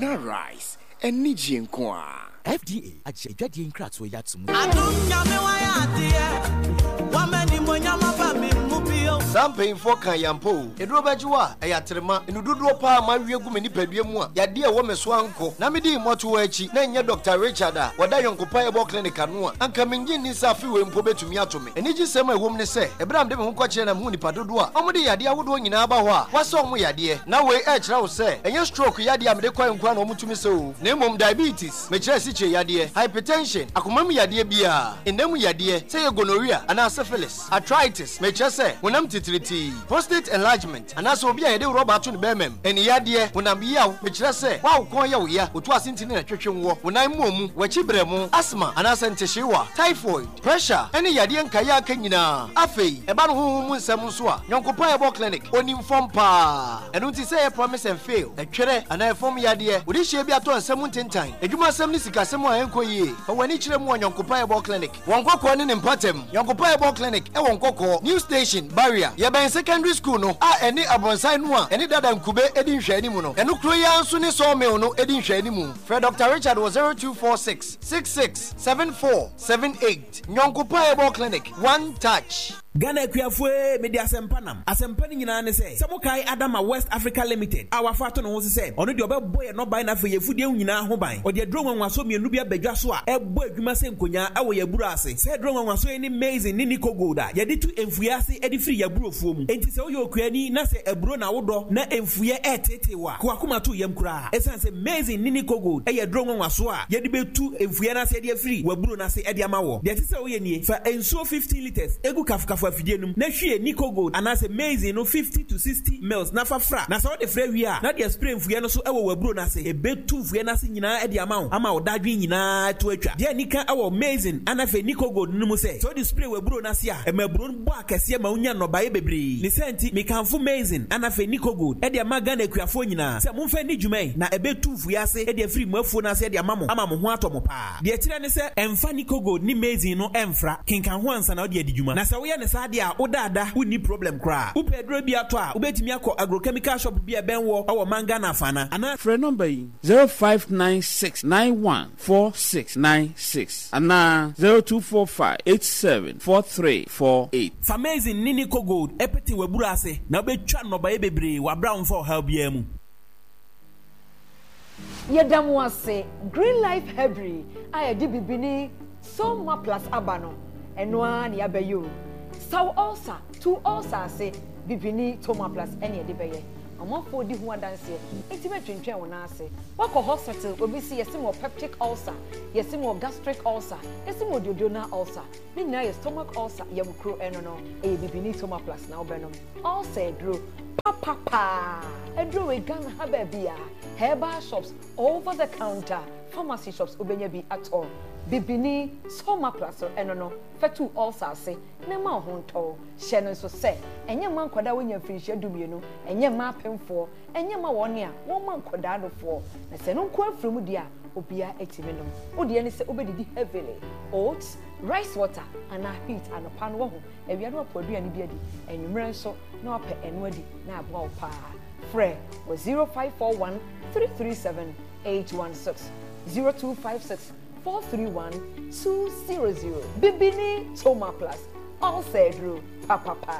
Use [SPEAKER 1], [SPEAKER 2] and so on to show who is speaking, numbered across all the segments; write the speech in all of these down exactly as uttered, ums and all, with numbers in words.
[SPEAKER 1] Ghana rice anigye nko a.
[SPEAKER 2] F D A agye adwadeɛ nkratoɔ yi ato mu.
[SPEAKER 3] Adom Nyame wayɛ adeɛ wama nimonyam aba me mu bio.
[SPEAKER 4] Saa mpanyimfoɔ ka yampa o, ɛduro bɛgye wo a ɛyɛ aterema ɛnu dodoɔ paa ma awie gu me nipadua mu a yadeɛ a ɛwɔ me so ankɔ na mede mmɔto akyi na ɛnyɛ Doctor Richard a wɔda Yɔnkopa Herbal Clinic ano a anka mengye nni sɛ afe wei mpo bɛtumi ato me. Anigye sɛm a ɛwɔ mu ne sɛ ɛberɛ a mede me ho kɔkyerɛ na mehu nipa dodoɔ a ɔmode yadeɛ ahodoɔ nyinaa ba hɔ a wɔasɛ ɔmo yadeɛ na wei ɛkyerɛ wo sɛ ɛnyɛ stroke yadeɛ a mede kɔɛ nkoa na ɔmotumi sɛ o, na mmom diabetes, mekyerɛ asikyire yadeɛ, hypertension, akoma mu yadeɛ biara, ɛnam mu yadeɛ sɛ yɛ gonorrhea anaa syphilis, arthritis, mekyerɛ sɛ honam titiritii, prostate enlargement anaasɛ obi a yɛde rɔba ato ne bɛrima mu, ɛne yadeɛ honam yaw, mekyerɛ sɛ woawo kɔn yɛ wo ya, otu ase ntini na twetwe woɔ, wo nan mu mu, w'akyi brɛ mu, asthma anaasɛ ntehyeewa, typhoid, pressure ɛne yadeɛ nkaeɛ aka nyinaa. Afei ɛba no honhom mu nsɛm nso a, Yɔnkopa Herbal Clinic onim fam paa. Ɛno nti sɛ ɛyɛ promise and fail, ɛtwerɛ anaa ɛfam yadeɛ, wode hyia bi atɔ nsɛm ntentan, adwumasɛm ne sikasɛm a ɛnkɔ yie, fa w'ani kyerɛ mu wɔ Yɔnkopa Herbal Clinic. Wɔn Nkɔkɔɔ ne ne mpatam. Yɔnkopa Herbal Clinic ɛwɔ Nkɔkɔɔ New Station Barrier, yɛbɛn secondary school no a ɛne abɔnsan no a ɛne dada nkube edi nhwɛanimu no. Ɛno kuro yi ara nso ne sawmill no edi nhwɛanimu. Frɛ Doctor Richard wɔ zero two four six six six seven four seven eight. Yɔnkopa Herbal Clinic, one touch.
[SPEAKER 5] Ghana akuafoɔ, mede asɛmpa nam. Asɛmpa no nyinaa ne sɛ sɛ mokae Adama West Africa Limited a wafa ato ne ho so sɛ ɔno deɛ ɔbɛbɔ yɛ nnɔbae na afei yɛfudie nyinaa ho ban, ɔde aduro nwanwaso mmienu bi abadwa so a ɛbɔ adwuma sɛ nkonyaa ɛwɔ yɛ aburo ase. Sɛ aduro nwanwaso yi ne maize ne Nico Gold a yɛde tu mfuiɛ ase de firi yɛ aburofuo mu. Enti sɛ woyɛ okuani na sɛ aburo na wodɔ na mfuiɛ ɛɛtetee wɔ a, kowakoma to yam koraa, ɛsiane sɛ maize ne Nico Gold ɛyɛ aduro nwanwaso a yɛde bɛtu mfuiɛ no ase de afiri w'aburo no ase de ama wɔ. Deɛ ɛte sɛ woyɛ nie: fa nsuo fifteen litres egu kafokafo afidie no mu na hwie Nico Gold anaasɛ maize no fifty to sixty mils na fa fra. Na sɛ wode fra wie a, na deɛ spray mfuiɛ no so ɛwɔ w'aburo no ase. Ɛbɛtu mfuiɛ no ase nyinaa de ama wo ama wo dadwen nyinaa to atwa. Deɛ nika ɛwɔ maize ana afei Nico Gold no mu sɛ sɛ wode spray w'aburo no ase a, ɛma aburo no bɔ akɛseɛ ma wonya nnɔbaeɛ bebree. Ne sɛ nti mekamfo maize ana afei Nico Gold ɛde ama Ghana akuafoɔ nyinaa sɛ momfa ni dwuma yi na ɛbɛtu mfuiɛ ase de afiri mo afuo no ase de ama mo ama mo ho atɔ mo paa. Deɛ kyerɛ ne sɛ ɛmfa Nico Gold ne maize no ɛmfra. Kenkan ho ansa na wode adi dwuma, na sɛ woyɛ ne saa deɛ a, wodaada wonni problem koraa. Wopɛ aduro bi atɔ a, wobɛtumi akɔ agrochemical shop bi a ɛbɛn wɔ ɛwɔ man Ghana afana anaa
[SPEAKER 6] Frɛ nɔmba yi: zero five nine six nine one four six nine six anaa zero two four five eight seven four three four eight.
[SPEAKER 5] Fa maize ne Nico Gold ɛpete w'aburo ase na wobɛtwa nnɔbaeɛ bebree wɔ aberɛ a womfa ɔhaw biara mu.
[SPEAKER 7] Yɛda mo ase. Green Life Herbery a yɛde bibini Soma Plus aba no, ɛno ara ne yɛabɛyɛ o. Saw ulcer, tu ulcer ase. Bibini Toma Plus ɛne yɛde bɛyɛ. Ɔmanfoɔ di ho adanseɛ nti mɛtwentwɛn wo nan ase. Wakɔ hospital, obi si yɛsi mo peptic ulcer, yɛsi mo gastric ulcer, yɛsi mo duodenal ulcer, ne nyinaa yɛ stomach ulcer, yɛmukuro. Ɛno no ɛyɛ bibini Toma Plus na wobɛnom. Ulcer aduro papapaa. Aduro wei, Ghana ha baabi a herbal shops, over the counter, pharmacy shops, wobɛnya bi atɔ. Bibini Soma Plus ɛno no fɛtu ulcer ase na ma wo ho ntɔw. Hyɛ no nso sɛ ɛnyɛ mma nkwadaa a wɔnya mfirinhyia dumienu, ɛnyɛ mma apemfoɔ, ɛnyɛ mma wɔn a wɔma nkwadaa nofoɔ. Na sɛ no nko afiri mu deɛ a, obiara atumi nom. Wodeɛ ne sɛ wobɛdidi heavily, oats, rice water anaa wheat anɔpa no. Wahu awia no wapɔ aduane bi adi, anwummerɛ nso na wapɛ ɛno adi na aboa wo paa. Frɛ wɔ zero five four one three three seven eight one six, zero two five six four three one two zero zero. Bibini Toma Plus, ulcer aduro papapa.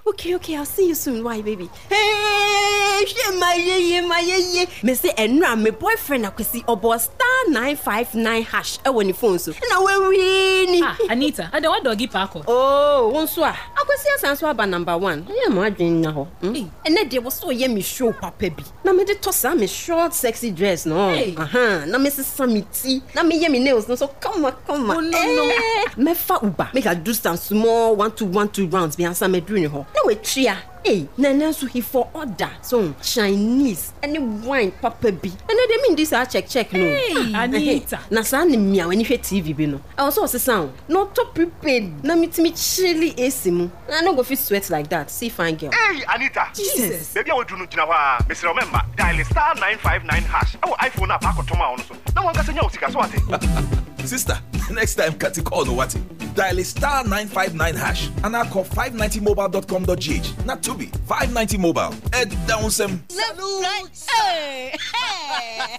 [SPEAKER 8] Okay, okay, I'll see you soon. Why, baby? Hey, hwɛ ma yeye ma yeye. Me se ɛnura me boyfriend Akwasi ɔbɔ star nine five nine hash ɛwɔ ne phone so. Na wawini.
[SPEAKER 9] Ah, Anita, ada wa doggy paako.
[SPEAKER 8] Oh, wo nso a. Akwasi asan so aba number one. Ɛyɛ mo adwene na hɔ. Hmm? Ɛnɛ deɛ wɔ so ɔyɛ me show papa bi. Na me de tɔ saa me short sexy dress no.
[SPEAKER 9] Hey.
[SPEAKER 8] Aha, na me sesa me ti. Na me yɛ me nails no so kama kama.
[SPEAKER 9] Oh, no, no.
[SPEAKER 8] Eh, mɛfa Uber. Make I do some small one two one two rounds bi ansa mɛduru ne hɔ. Na watua. Ei, na ɛnɛ nso he for order so Chinese ɛne wine papa bi. Ɛnɛ deɛ mendi saa check check no.
[SPEAKER 9] Hey, Anita.
[SPEAKER 8] Na saa ne mmea w'ani hwɛ T V bi no, ɛwɔ sɛ ɔsesa o na ɔtɔ prepaid na metumi chilli A C mu na I no go fit sweat like that. See fine girl.
[SPEAKER 10] Hey, Anita!
[SPEAKER 8] Jesus!
[SPEAKER 10] Baabi a waduru no, gyina hɔ a mesrɛ wo mɛmma. Dial star nine five nine hash ɛwɔ iPhone a paakɔtɔm a ɔno so na wankasa nya wo sika so ate.
[SPEAKER 11] Sister, next time cut call no what? Dial star nine five nine hash and I call five ninety mobile dot com dot g h. Not to be five ninety mobile. Ed down some.
[SPEAKER 12] Salute. Hey, hey.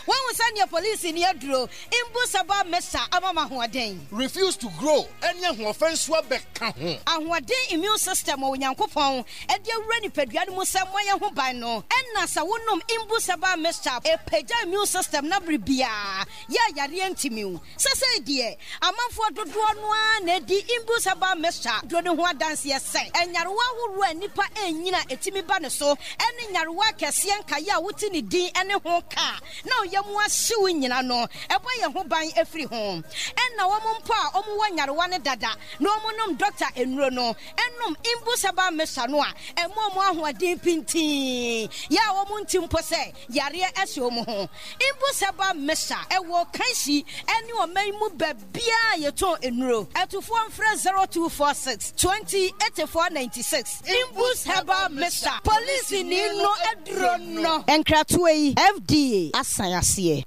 [SPEAKER 12] When we send your police in your draw, Imbusaba Mesa Amama Huaden.
[SPEAKER 13] Refuse to grow. Any who offense wa beka ho.
[SPEAKER 12] Ahoɔden immune system wɔ Onyankopɔn ɛde awura nipadua no mu sɛ moayɛ ho ban no. Ɛna sɛ wonom Imbusaba Mesa ɛpagya immune system na bere biara yɛ yareɛ ntimi wo. Sɛsɛi deɛ amanfoɔ dodoɔ no ara na ɛdi Imbusaba Mesa duro no ho adanseɛ sɛ ɛnyarewa ahoroɔ a nnipa ɛnyina ɛtumi ba ne so ɛne nyarewa akɛseɛ nkaeɛ a wote ne din ɛne ho ka na ɔyɛ mu ahyew nyina no ɛbɔ yɛn ho ban ɛfiri ho. Ɛna wɔn mpo a wɔn wɔ nyarewa ne dada na wɔn nom dɔkta nnuro no ɛnom Imbusaba Mesa no a ɛmo wɔn ahoɔden pintin yɛ a wɔn nti mpo sɛ yareɛ ɛhyɛ wɔn ho. Imbusaba Mesa ɛwɔ Kanshi ɛne ɔman mu baabiara yɛtɔn nnuro. Ɛtufoɔ mfrɛ zero two four six twenty eighty four ninety six. Imbus Herbal Mesa polisi ni no aduro no. Nkratoɔ yi F D A asan aseɛ.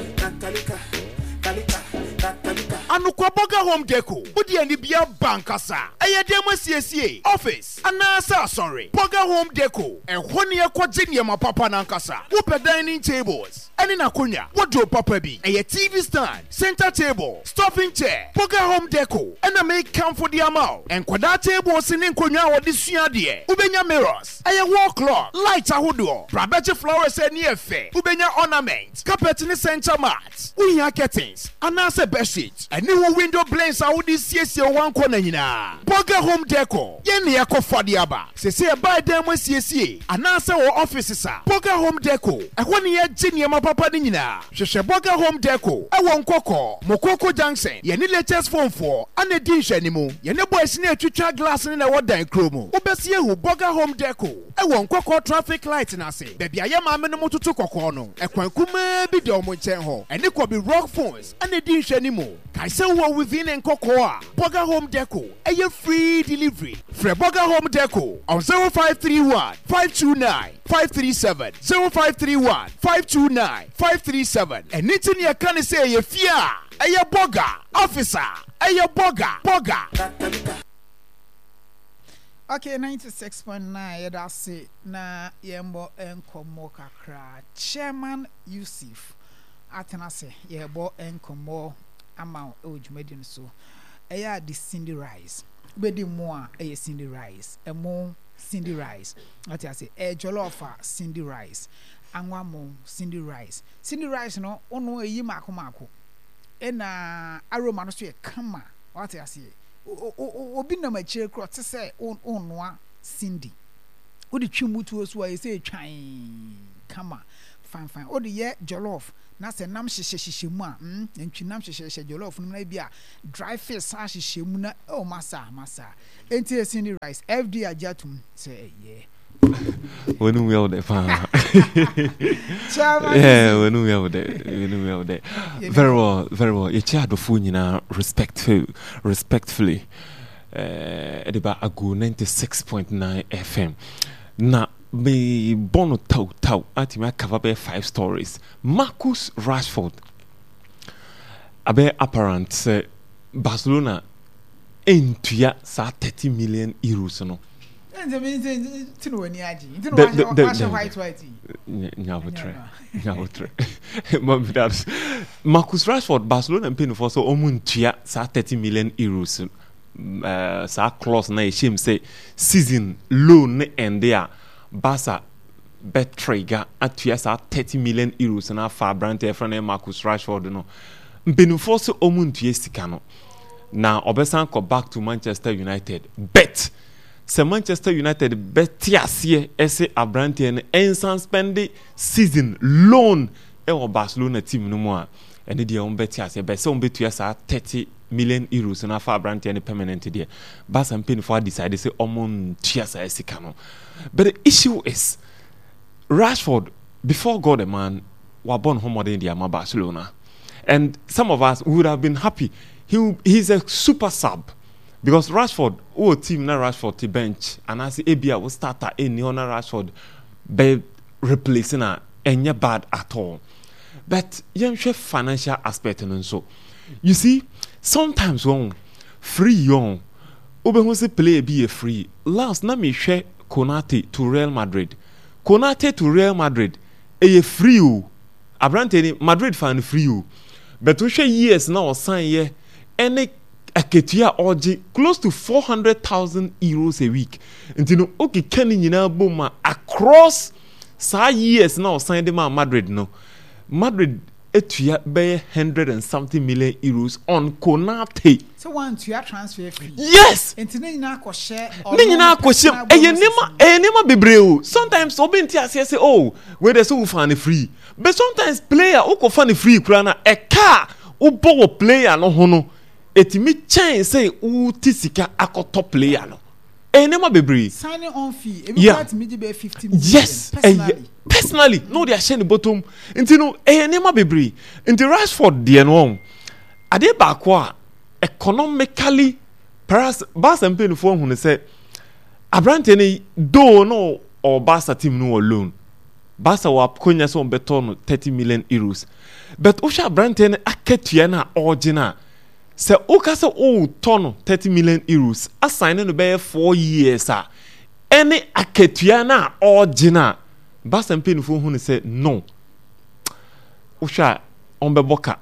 [SPEAKER 14] Anokwa Burger Home Deco wodi ani bia bankasa ɛyɛ dɛm asiesie office anaasɛ asɔre. Burger Home Deco ɛhɔ ne ɛkɔgye nneɛma papa nankasa. Wopɛ dining tables ɛne n'akonnwa, wardrobe papa bi, ɛyɛ T V stand, center table, stuffing chair. Burger Home Deco ɛna mekamfo de ama wo. Nkwadaa tables ne nkonnwa a wɔde sua adeɛ. Wobɛnya mirrors, ɛyɛ wall clock, light ahodoɔ, brabɛgye flowers ani ɛfɛ. Wobɛnya ornament, carpet ne center mat. Wohia curtains anaasɛ bedsheet, ɛne wo window blinds a wode siesie wo wankɔ na nyinaa. Burger Home Deco yɛn ne yɛkɔfa de aba. Sese ɛbaa dan mu asiesie anaasɛ wɔ offices a, Burger Home Deco ɛhɔ ne yɛgye nneɛma papa no nyinaa. Hwehwɛ Burger Home Deco ɛwɔ Nkɔkɔ, Mokoko Junction. Yɛne latest phone foɔ ana di nhwɛnimu. Yɛne boys ne atwitwa glass ne na ɛwɔ dan kuro mu. Wobɛsi ehu Burger Home Deco ɛwɔ Nkɔkɔ traffic light n'ase. Baabi a yɛ maame no mo toto kɔkɔɔ no, ɛkwan kumaa bi da ɔmo nkyɛn hɔ. Ɛne Kɔbi Rock Phones ana di nhwɛnimu. Kae sɛ wowɔ within Nkɔkɔ a, Burger Home Deco ɛyɛ free delivery. Frɛ Burger Home Deco on zero five three one five two nine five three seven zero five three one five two nine five three seven. Ɛne ti ne ɛka ne sɛ ɛyɛ fie a ɛyɛ burger, officer ɛyɛ burger, burger.
[SPEAKER 15] Okay, ninety-six point nine yɛda ase na yɛmbɔ nkɔmmɔ kakra. Chairman Yusuf atena ase yɛbɔ nkɔmmɔ ama wo ɛwɔ dwumadi no so. Ɛyɛ a de Cindy Rice. Wobɛdi mo a ɛyɛ Cindy Rice. Ɛmo Cindy Rice. Ate ase ɛyɛ jollof a Cindy Rice. Anwa mo Cindy Rice. Cindy Rice no ono eyi mako mako. Ɛna aroma no so yɛ kama. Ate ase. Obi nam akyire korɔ te sɛ onnoa Cindy. Wode twi mutuo so a ɛsɛ twan kama fine fine. Wode yɛ jollof na sɛ nam hyehyɛ hyehyɛ mu a, mm, ntwi nam hyehyɛ hyehyɛ jollof no mu na bi a dry fish san hyehyɛ mu na oh masa masa. Enti e Cindy Rice F D agye atom sɛ ɛyɛ.
[SPEAKER 16] Wenu we out pa. Yeah, wenu we out there. Wenu we out there. Very well, very well. Ye chia adofo nyina respectful, respectfully. Eh, ediba agu ninety-six point nine F M. Na me bono tau tau atimi cover be five stories. Marcus Rashford. Abe apparent say Barcelona entua sa thirty million euros no. Marcus Rashford Barcelona mpanyinfoɔ sɛ ɔmo ntua saa thirty million euros uh, saa clause na ehyem sɛ season loan ne ɛnde a Barca bɛ trigger atua saa thirty million euros na afa aberante ɛfrɛ no Marcus Rashford no. Mpanyinfoɔ sɛ ɔmo ntua sika no na ɔbɛsan kɔ back to Manchester United. Bet sɛ Manchester United bɛte aseɛ ɛsɛ aberanteɛ no ɛnsan spend season loan ɛwɔ Barcelona team no mu a ɛne deɛ wɔn bɛte aseɛ bɛ sɛ wɔn bɛtua saa thirty million euros na afa aberanteɛ no permanent deɛ Barca mpanyinfoɔ adecide sɛ wɔn ntua saa sika no. But the issue is Rashford before God a man wabɔ ne ho mmɔden de ama Barcelona, and some of us would have been happy. He he's a super sub. Because Rashford, who team na Rashford te bench, and I say ebia wo starter any na Rashford be replacing na enye bad at all. But yenhwe financial aspect no so. You see, sometimes when Free yon. Wobɛhu sɛ player bi yɛ free. Last na mehwɛ Konate to Real Madrid. Konate to Real Madrid ɛyɛ free o. Aberanteɛ ni Madrid fa no free o. But wohwɛ years na ɔsan yɛ ɛne akatua a ɔgye close to four hundred thousand euros a week. Nti no okeka ne nyinaa bom a across saa years na ɔsan de ma Madrid no, Madrid etua bɛyɛ hundred and something million euros on Konate.
[SPEAKER 15] Sɛ wantua transfer fee.
[SPEAKER 16] Yes.
[SPEAKER 15] Nti ne nyinaa akɔhyɛ.
[SPEAKER 16] Ne nyinaa akɔhyɛ ɛyɛ nneɛma ɛyɛ nneɛma bebree o. Sometimes obi nti aseɛ sɛ, oh, wei de sɛ wofa ne free, but sometimes player wokɔfa ne free koraa na ɛka a wobɔ wɔ player no ho no etimi kyɛn sɛ wote sika akɔtɔ player no. Ɛyɛ nneɛma bebree.
[SPEAKER 15] Signing on fee ebi
[SPEAKER 16] Yeah.
[SPEAKER 15] kura tumi gye bɛyɛ fifty million.
[SPEAKER 16] Yes, ɛyɛ
[SPEAKER 15] Personally.
[SPEAKER 16] Personally na ɔde ahyɛ ne bɔtɔm. Nti no ɛyɛ nneɛma bebree. Nti Rashford deɛ no, ɔn adeɛ baako a economically Paris Barca mpanyinfoɔ ahunu sɛ aberanteɛ no, though no ɔwɔ Barca team no wɔ loan, Barca wɔ akonya sɛ ɔbɛtɔ no thirty million euros, but wohwɛ aberanteɛ no akatua no a ɔregye no a, sɛ woka sɛ wotɔ no thirty million euros asan ne no bɛyɛ four years a, ɛne akatua no a ɔregye no a, Barca mpanyinfoɔ hu no sɛ no, wohwɛ a ɔmbɛbɔ ka,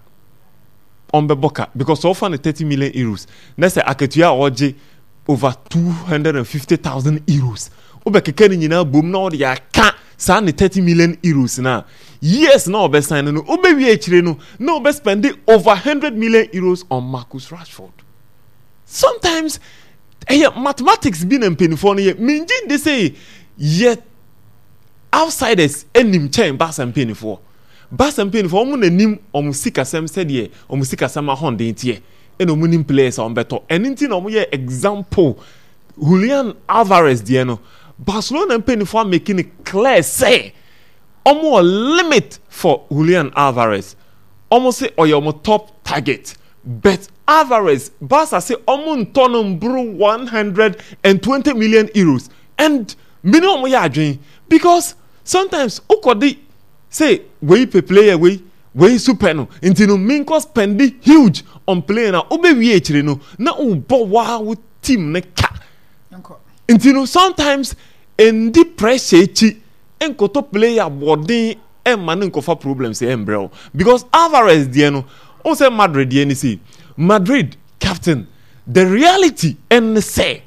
[SPEAKER 16] ɔmbɛbɔ ka, because sɛ ɔfa no thirty million euros na sɛ akatua a ɔregye over two hundred and fifty thousand euros, wobɛkeka ne nyinaa bom na ɔde aka saa ne thirty million euros na years na ɔbɛsan no no wobɛwie akyire no na ɔbɛspend over hundred million euros on Marcus Rashford. Sometimes ɛyɛ mathematics bi na mpanimfoɔ no yɛ. Mengye nde sɛ yɛ outsiders anim kyɛn Barca mpanimfoɔ. Barca mpanimfoɔ, wɔn n'anim wɔn sikasɛm, sɛdeɛ wɔn sikasɛm ahoɔden teɛ, ɛna wɔn nim players a wɔn bɛtɔ. Ɛno nti na wɔn yɛ example Julian Alvarez deɛ no, Barcelona mpanimfoɔ amake no clear sɛ wɔn wɔ limit for Julian Alvarez. Wɔn sɛ ɔyɛ wɔn top target, but Alvarez, Barca sɛ wɔn ntɔ no mboro one hundred and twenty million euros, and mene wɔn yɛ adwene because sometimes wokɔde sɛ wei pɛ player wei, wei nso pɛ no, nti no menkɔ spend huge on player na wobɛwie akyire no na wobɔ waa wo team ne ka. Nti no sometimes ndi pressure akyi nkɔtɔ player bɔden ɛma ne nkɔfa problems ɛmbrɛ wo, because Alvarez deɛ no, wɔn sɛ Madrid deɛ ne sɛ Madrid captain, the reality ɛne sɛ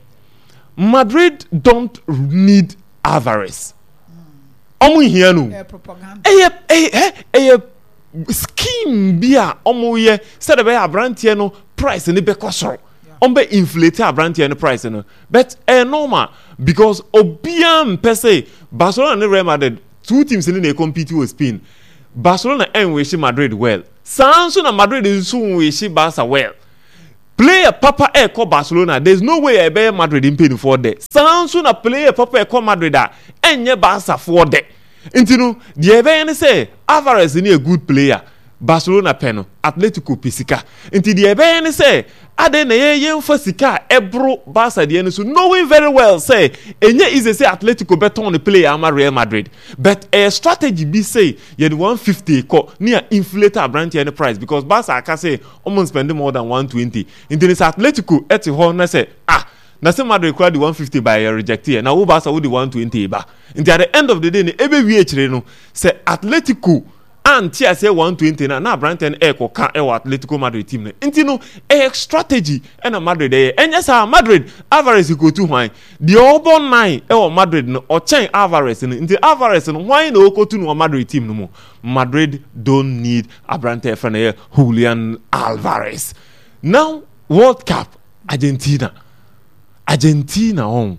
[SPEAKER 16] Madrid don't need Alvarez. Ɔmo nhia no. Ɛyɛ ɛyɛ ɛyɛ scheme bi a ɔmo yɛ sɛdeɛ bɛyɛ aberanteɛ no price ne bɛkɔ soro, ɔmo bɛ inflate aberanteɛ no price no. But ɛyɛ normal because obiara mpɛ sɛ Barcelona ne Real Madrid, two teams ne na compete wɔ Spain. Barcelona ɛnwish Madrid well, saa nso na Madrid nso nwish Barca well. Player papa ɛkɔ Barcelona, there is no way a ɛbɛyɛ Madrid mpanyinfoɔ dɛ. Saa nso na player papa ɛkɔ Madrid a, ɛnyɛ Barcafoɔ dɛ. Nti no deɛ ɛbɛyɛ ne sɛ Alvarez ne a good player, Barcelona pɛ no, Atletico pɛ sika. Nti deɛ ɛbɛyɛ ne sɛ adɛn na yɛn yɛmfa sika a ɛboro Barca deɛ no so, knowing very well sɛ ɛnyɛ easy sɛ Atletico bɛtɔn ne player ama Real Madrid. But ɛyɛ strategy bi sɛ yɛde one fifty kɔ ne a inflate aberanteɛ no price, because Barca aka sɛ ɔmo spend more than one twenty. Nti ne sɛ Atletico ɛte hɔ na sɛ, ah, na sɛ Madrid kora de one fifty ba, yɛ reject yɛ, na wo Barca wo de one twenty ba. Nti at the end of the day no, ɛbɛwie akyire no sɛ Atletico ante aseɛ one twenty na na aberanteɛ no ɛrekɔka ɛwɔ Atletico Madrid team no. Nti no ɛyɛ strategy ɛna Madrid ɛyɛ. Ɛnyɛ saa Madrid Alvarez kotu hwan? Deɛ ɔbɔ nine ɛwɔ Madrid no ɔkyɛn Alvarez no. Nti Alvarez no, hwan na ɔkɔtu no wɔ Madrid team no mu? Madrid don't need aberanteɛ fɛ no yɛ Julian Alvarez. Now World Cup, Argentina, Argentina wɔn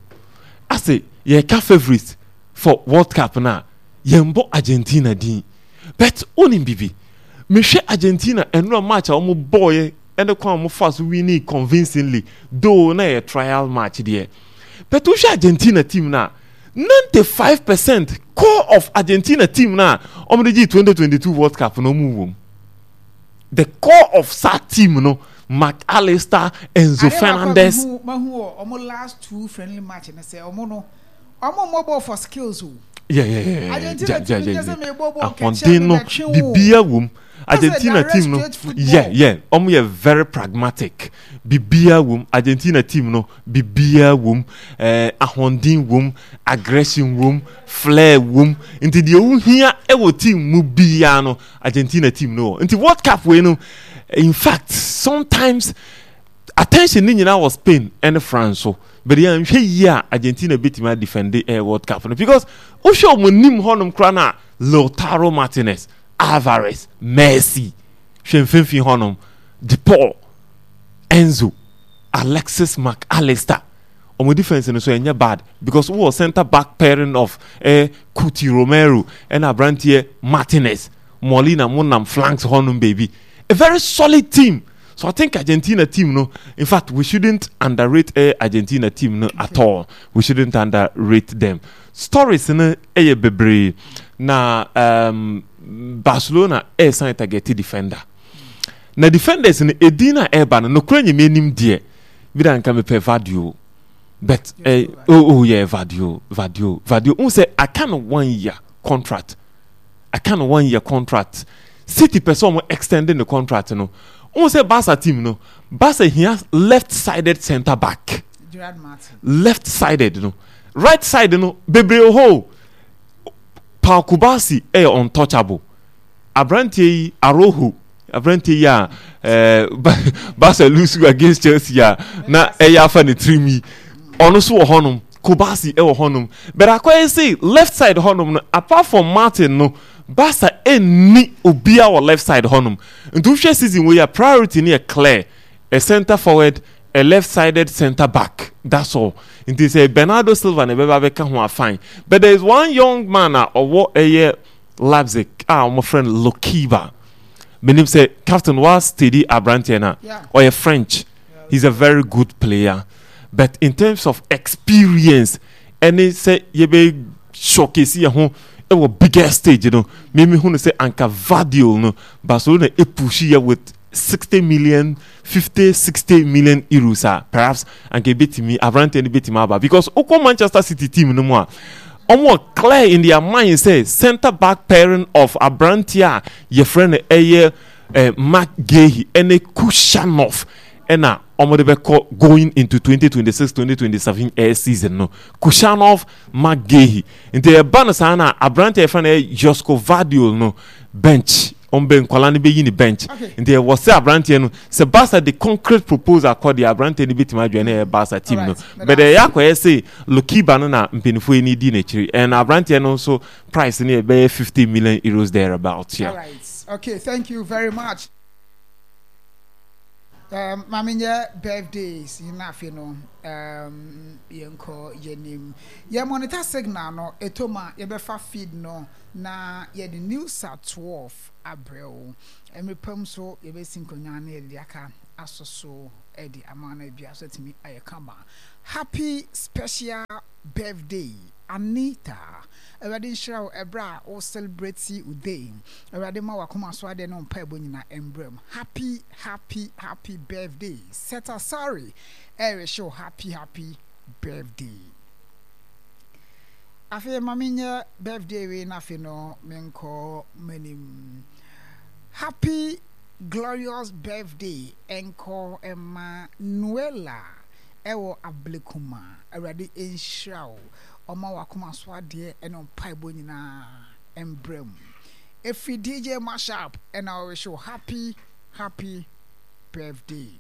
[SPEAKER 16] ase yɛka favourite for World Cup na yɛn bɔ Argentina din, but onim bibi, mehwɛ Argentina ɛnura match a wɔn bɔɔyɛ ɛne kwan a wɔn fa so winning convincingly, though na yɛ trial match deɛ, but wohwɛ Argentina team na ninety five percent core of Argentina team na wɔn de gye twenty twenty two World Cup na wɔn wɔ mu. The core of saa team no, Mac Allister, Enzo Fernandez.
[SPEAKER 15] Mahu wɔ ɔmo last two friendly match ne sɛ ɔmo no ɔmo mmɔ ball for skills o.
[SPEAKER 16] Yeah, yeah, yeah.
[SPEAKER 15] Argentina
[SPEAKER 16] ja, ja,
[SPEAKER 15] team
[SPEAKER 16] ja,
[SPEAKER 15] nyɛ sɛ
[SPEAKER 16] ja.
[SPEAKER 15] mebɔ ball kɛkyɛ
[SPEAKER 16] Ahoɔden no
[SPEAKER 15] mebɛtwe wo.
[SPEAKER 16] Bibia wom. Argentina team no, yeah yeah ɔmo yɛ very pragmatic. Bibia wom. Argentina team no, bibia wom. ɛɛ ahoɔden wom, aggression wom, flair wom. Nti deɛ ohia ɛwɔ team mu biara no, Argentina team no wɔ. Nti World Cup wei no, in fact, sometimes attention ne nyinaa wɔ Spain ɛne France so, but yɛn nhwɛ yie a, Argentina betumi adefend ɛɛ World Cup no, because wohwɛ wɔn anim hɔnom koraa na Lautaro Martinez, Alvarez, Messi, hwɛ mfimfini hɔnom, De Paul, Enzo, Alexis Mac Allister. Wɔn defence no so ɛnyɛ bad, because wowɔ centre back pairing of eh, Cuti Romero ɛna aberanteɛ Martinez, Molina mo nam flanks hɔnom baabi. A very solid team. So I think Argentina team no, in fact, we shouldn't underrate eh, Argentina team no at all. We shouldn't underrate them. Stories no ɛyɛ bebree na um, Barcelona ɛresan target defender. Na defenders no edin na ɛreba no, nokura nyɛ anim deɛ bi da nka mepɛ Gvardiol, but eh, oh, oh yeah, Gvardiol, Gvardiol, Gvardiol n sɛ aka no one year contract, aka no one year contract. City pɛ sɛ ɔmo extend the contract no. N sɛ Barca team no, Barca hia left sided centre back.
[SPEAKER 15] Gerard Martin.
[SPEAKER 16] Left sided no, right side no bebree wɔ hɔ o. Pau Cubarsi ɛyɛ untouchable. Aberanteɛ yi, Araujo, aberanteɛ yi a ɛɛ Barca lose against Chelsea a na ɛyɛ afa ne tirim yi, ɔno nso wɔ hɔnom. Cubarsi ɛwɔ hɔnom, but akɔyɛ sɛ left side hɔnom no, apart from Martin no, Barca ɛnni obiara wɔ left side hɔnom. Nti wohwɛ season wei a, priority no yɛ clear: a centre forward, a left sided centre back, that's all. Nti sɛ Bernardo Silva na ɛbɛba bɛka ho a, fine. But there is one young man a ɔwɔ ɛyɛ Leipzig a wɔfrɛ no Lukeba. Menim sɛ captain wa steady aberanteɛ no a ɔyɛ French. He's a very good player, but in terms of experience ɛne sɛ yɛbɛ showcase yɛn ho ɛwɔ biggest stage no, mímí hu no sɛ anka Gvardiol no, Barcelona epush yɛ with sixty million, fifty, sixty million euros a, perhaps anka ebetumi aberanteɛ no betumi aba, because okɔ Manchester City team no mu a, wɔn clear in their mind sɛ centre back pairing of aberanteɛ a yɛfrɛ no ɛyɛ eh, Marc Guehi ɛne Khusanov ɛna wɔn de bɛkɔ going into twenty twenty six twenty twenty seven air season no, Khusanov, Marc Guehi. Nti ɛba no saa na aberanteɛ yɛfrɛ no ɛyɛ Josko Gvardiol no, bench wɔn bɛ nkwadaa no bɛyi ne bench. Nti ɛwɔ sɛ aberanteɛ no, sɛ Barca de concrete proposal kɔ deɛ, aberanteɛ no bɛtumi adwa ne ɛyɛ Barca team no. But ɛyɛ akɔyɛ sɛ Lukeba no na mpanimfoɔ yi ni di n'akyiri, and aberanteɛ no nso price no yɛ bɛyɛ fifty million euros there about, yeah.
[SPEAKER 15] All right. Okay, thank you very much. Um, maame nyɛ birthdays na afei no um, yɛnkɔ yɛnim. Yɛ monitor signal no ɛtɔ mu a, yɛbɛfa feed no na yɛde news at twelve abrɛ wo. Mmerɛ so yɛbɛsi nkonnwa na yɛde aka asɔ so de ama no bia so atumi ayɛ kama. Happy special birthday, Anita. Awurade nhyira wo ɛberɛ a wo celebrate wo day. Awurade ma wakoma so adeɛ ne wo mpaebɔ nyinaa mbrɛ mu. Happy, happy, happy birthday. Seta sorry, ɛrehyɛ wo happy, happy birthday. Afei ma menyɛ birthday wei na afei no menkɔ m'anim. Happy glorious birthday ɛnkɔ ɛma Noela ɛwɔ Ablekuma. Awurade nhyira wo, ɔma wakoma so adeɛ ɛne mpaebɔ nyinaa mbrɛ mu. Ɛfiri D J Mashup ɛna ɔrehyɛ wo happy, happy birthday.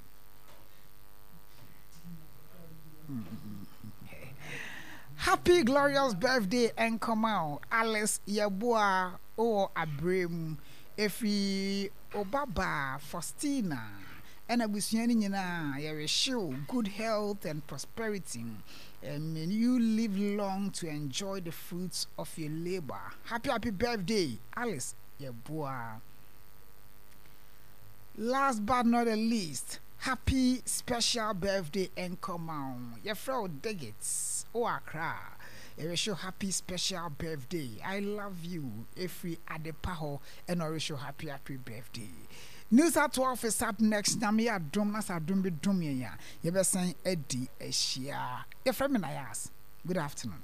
[SPEAKER 15] Happy glorious birthday ɛnkɔma wo Alice Yɛboa wowɔ aberɛ ɛfiri Obaba Faustina ɛna abusua no nyinaa, yɛrehyew good health and prosperity, and may you live long to enjoy the fruits of your labor. Happy, happy birthday, Alice Yɛboa. Last but not the least, happy special birthday ɛnkɔma wo yɛfrɛ wo Digits wɔ Accra. Yɛrehyew happy special birthday. I love you ɛfiri Adepa hɔ ɛna ɔrehyew happy, happy birthday. News at twelve is up next. Nyame yɛ adom na sɛ adom bi dom yɛn a, yɛbɛsan adi ahyia. Yɛfrɛ me Nayas. Good afternoon.